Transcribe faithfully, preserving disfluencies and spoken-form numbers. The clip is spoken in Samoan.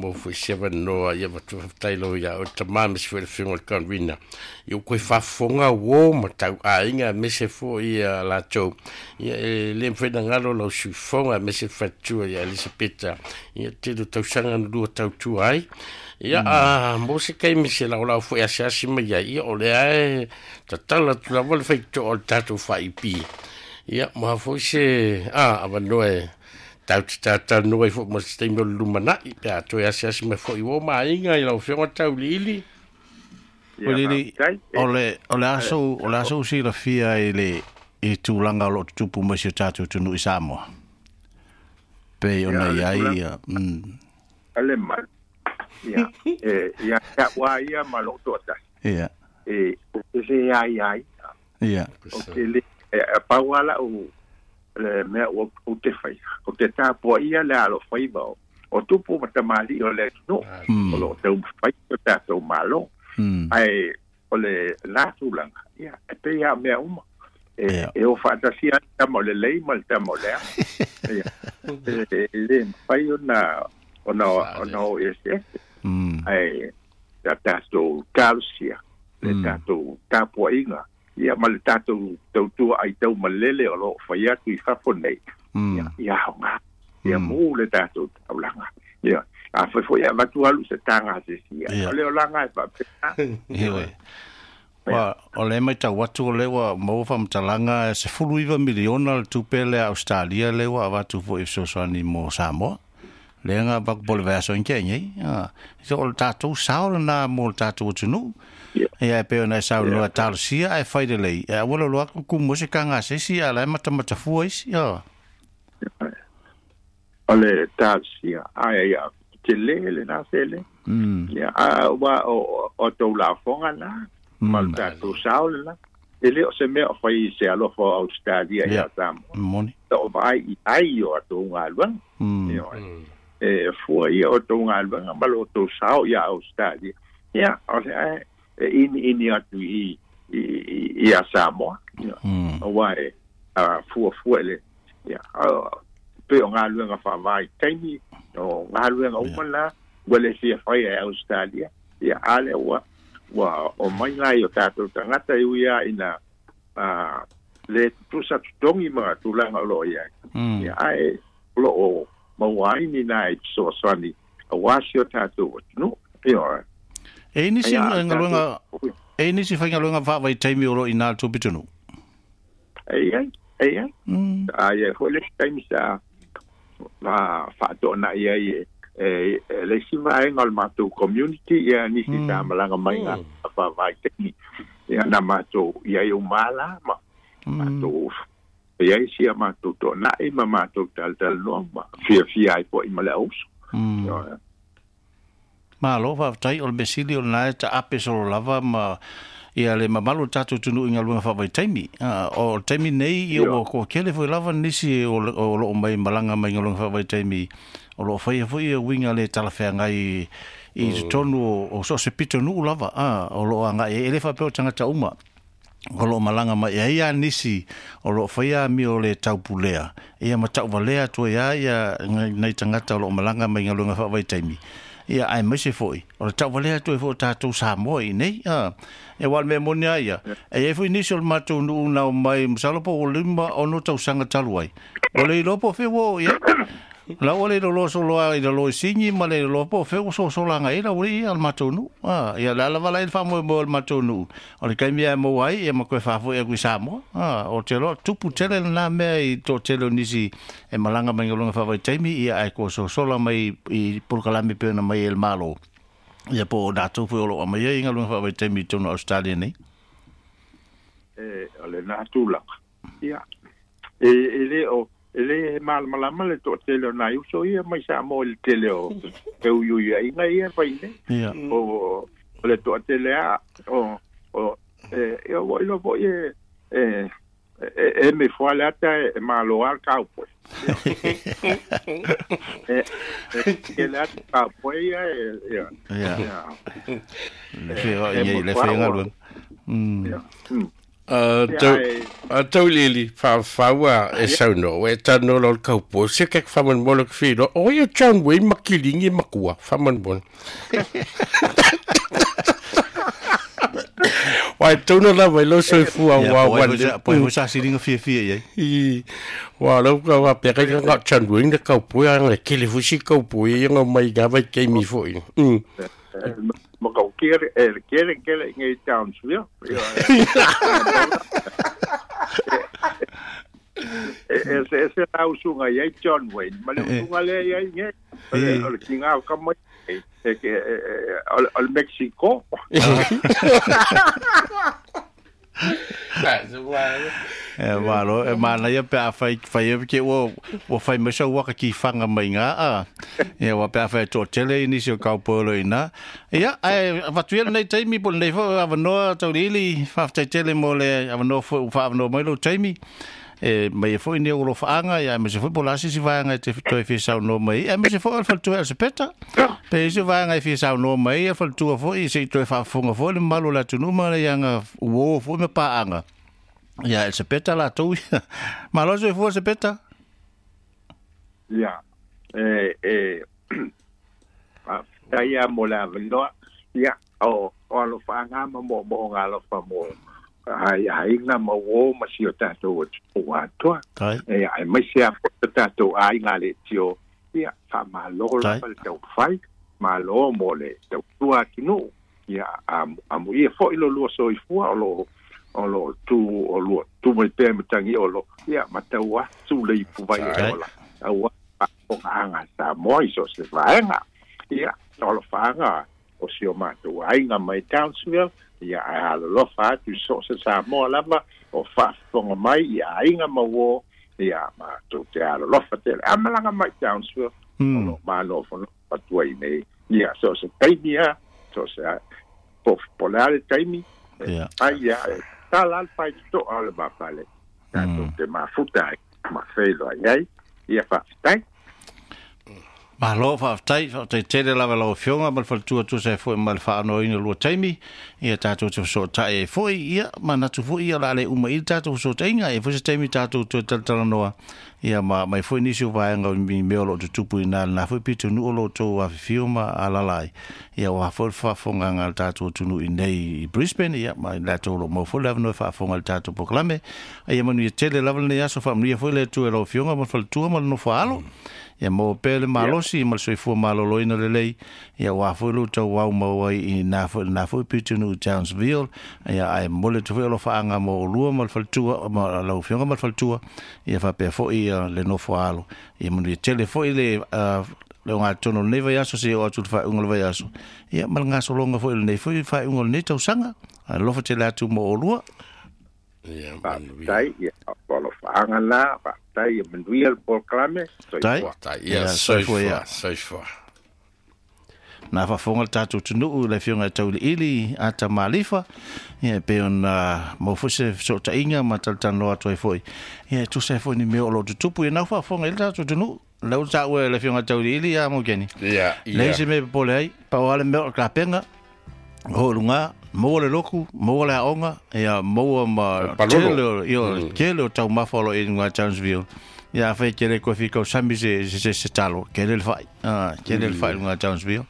Mo foi se avanoa ia faafetai lava ia oe tamā ma se foi le afioga i le convener ia ua toe faafofoga uō ma tauaiga aemaise foi ia latou ia e lē mafai ona galo lau suifofoga aemaise le faletua ia Elisapeta ia tele o tausaga na lua tautua ai ia a mo se taimi se laolao foi asiasi mai ai ia o lea e tatala atu lava le faitotoa o le tatou faaipī ia mo a foi se a avanoa e tatou te talatalanoa ai foi mo se taimi o le lumanai pe a toe asiasi mai foi uō ma aiga i lau afioga Tauiliili. Ia Lili, faafetai o le o le aso o le aso silafia i le i tulaga o lo o tutupu mai si o tatou atunuu i Samoa. Pei ia ona o le i ai tulaga ia mm, a le mai ia e ia ia ua ia ma lou toatasi ia e ou te le ai ai ia ou te le e e pau lava la'u le mea ua ou te faia ou te tapuaia le alofaiva o o tupu ma tamalii o le atunuu o mm, loo taumafai o tatou malo mm, ae o le la tulaga ia e pei a mea uma e ia e o faatasia ai le tama o lelei ma le tama o leaga ia e e lē mafai ona ona ona o eseese mm, ae ia tatou talosia le mm, tatou tapuaiga ia ma le tatou tautua ai tau malele o loo fai atu i fafo nei ia mm, ia aoga ia mm, mū le tatou taulaga ia afai foi avatu alu se taga a se isi ia ia o le olaga e faapena ia ia oe. ia Wa, o le mai tau atu o le ua maua faamatalaga e sefulu iva miliona le tupe lea Australia le ua avatu foi i fesoasoani mo Samoa. Lea na avatu po o le vaiaso ina tea nei. Ah, so o le tatou sao lenā mo le tatou atunuu. ia Ia e pei ona e ia saunoa talosia ae fai lelei. E aua le loa atu kumu ai se taga a se isi a o la e matamatafua isi. Ah. O le talosia ae ia telē lenā seleni Mm, ia a ua o o tou lafoga na ma le mm, tatou sao lenā e lē o se mea o fai i se alofa o Australia ia, ia Samoa moni. o vaai i ai o atou galuega Mm, ia e fua ia o tou galuega ma lo tou sao ia Australia ia o le ae e ini ini atu i i i ia Samoa ia mm, auā e a fuafua i le ia a pei o galuega faavaitaimi o galuega ia, uma la ua le fia faia e Australia ia a lea ua ua o mai lai o tatou tagata e ui a ina a le tutusa totogi ma tulaga o loo iai mm, ia ae o loo maua ai ni nai fesoasoani auā si o tatou atunuu ia E i nisi ai a o tatou galuega e i nisi faigaluega faavaitaimi o loo i ina le tou pitonuu. e iai e iai Mm, aia foi le isi taimi sa ma faatoanai ai e e e le isi vaega o le matou community ia nisi sa mm, malaga mai ga faavaitaimi ia na matou ia i umā ma mm, matou ia i sia matou toanai ma matou talatalanoa ma fiafia ai foi ma le auso mm. ia Malo faafetai o le mesili o lenā e taape solo lava ma ia le mamalu o le tatou atunuu i galuega faavaitaimi. Ah, o le taimi nei ia ia ua toatele foi lava nisi o le- o loo mai malaga mai galuega faavaitaimi o loo faia foi ia uiga le talafeagai i totonu o, o so o se pitonuu lava ah, o loo agai ai. E le faapea o tagata uma o loo malaga mai ai a nisi o loo faia amio o le taupulea ia ma tauvalea atu ai a ia nai nai tagata o loo malaga mai galuega faavaitaimi ia aemaise foi o le tauvalea atu ai foi o tatou Samoa i nei a e ua o le mea moni a ia e iai foi nisi o le matou nuu na omai masalo po ua lima ono tausaga talu ai ua le iloa po o fea ua oo i ai la ua le loloa soloa i lalo i sigi ma le loloa po o fea ua sosola agai ai la ua ia o le matou nuu a ia le ala vala ai le faamoemoe o le matou nuu o le taimi ae maua ai ia ma toe faafoi atu i Samoa a o te loa tupu tele lenā mea i toatele o nisi e malaga mai galuega faavaitaimi ia ae toa sosola mai i polokalame pei ona mai e le Malo ia po o latou foi o loo aumaia i galuega faavaitaimi i totonu o Australia nei e o lenā tulaga ia e e lē o e lē malamalama le toatele o nai uso ia mai Samoa i le tele o feuiuiaiga ia fai nei ia o o le toatele a o o e e ua iloa foi e e e e me foa le ata e malo a le cowboy ia e e ke le ata cowboy ia e ia ia ia le feoai e ai mo le foa ua faigaluega mm ia mm. A Tauiliili faafaua e saunoa e talanoa loa le kaupo se ke faamolemole ke filoa o ia John Wayne ma kiligi e makua faamolemole Wai tuna lava i lou soifua ua ua le po foi sa siliga fiafia i ai i ua lau ka wa pe ka nga John Wayne le kaupo ia le kele foi si kaupo ia nga mai ga vai keimi foi mm ma ka kere e kere kere ngai Townsville e se se la usunga ia John Wayne ma le usunga le ia ngai o le kinga ka mai e ke o Mexico e malo e mana ia pe a fai fai ke ua ua fai mai sau waka ki whanga mai ngā a ia ua pe a fai tō tele i nisi o kaupolo i nā ia ai watu ia nei taimi po nei fo awanoa Tauiliili whaftai tele mo le awanoa fo whaawanoa mai lo taimi e mai foi nei o lo whaanga ia me se foi po la sisi vaanga te toe fi sau no mai e me se foi al toe al sepeta pe se vaanga e fi sau no mai e fal foi se toe whaafonga foi le malo la tunuma le ianga uo foi me paanga ia el sepeta la tou malo se foi sepeta ia e e a ia mo la velo ia o o lo whaanga mo mo ngalo fa mo ai ai nga mo o ma si o tatou o atoa e ai mai se a tatou ai nga le tio ia fa malo la le tau fai malo mo le tau tua tunu ia a a mo ia foi lo lo so i fua o lo o lo tu o lo tu mai pe matangi o lo ia matau a tu le ipu vai o la au o nga sa mo i so se vaenga ia o lo fanga o si o matou ai nga mai Townsville ia a lo fa tu so se sa mo lava o fa fonga mai ia ainga ma wo ia ma tu te a lo fa te amalanga mai Townsville o lo ma lo fo patua i nei ia so se taimi so se po polare taimi ai ia ta la fa to al ma fale ta tu te ma futa ma felo ai ia fa tai Malo whaatai, whaatai tele lava lau fionga, ma le faletua tusa e foi ma le whaanoina lua taimi, ia tātou te whasotai e foi, ia manatu foi ia la le uma i tātou whasotaiga, e foi se taimi tātou toe talatalanoa, ia ma mai foi nisi o vaenga o mi mea o lo tutupu i nā nā foi pitu nu o lo tō awhiwhio ma alalai, ia wā foi le whaafonga ngā tātou tunu i nei i Brisbane, ia ma i lātou lo mau foi le awanoa whaafonga le tātou pokalame, ia manu ia tele lava nei aso whaamunia foi le tu e lau fionga ma le faletua ma le nofo alo, ia mo pele malosi ma le soifua maloloina lelei ia ua foi lo tau au mau ai i nā foi nā foi pitu nu Townsville ia ai mole te foi o lo whaanga mo olua ma le faletua ma lau fionga ma le faletua ia whapea foi ia le nofo alo ia manu ia tele foi le uh, le ngā tono nei vai aso se o atu le whaunga le vai aso ia ma le ngasolonga foi le nei foi whaunga le nei tausaga a lofa tele atu mo olua ia tai ia o lo whaanga la tai ia manuia le polokalame tai ia soifua soifua nā whaafonga le tātou tunuu le fionga e Tauiliili ata malifa ia pe ona mau foi se sotainga ma talatanoa atu ai foi ia tusa foi ni mea o lo tutupu ia nā whaafonga i le tātou tunuu lau tāu e le fionga Tauiliili a mo keni ia ia le se me pole ai pau ale mea o kapenga o lunga maua le loku, maua le aonga, ia maua ma tele, ia tele o taumafa o lo i ngā Townsville. Ia awhai kere koe whikau sami se, se, se, se talo, kere le whai, ah, kere le whai ngā Townsville.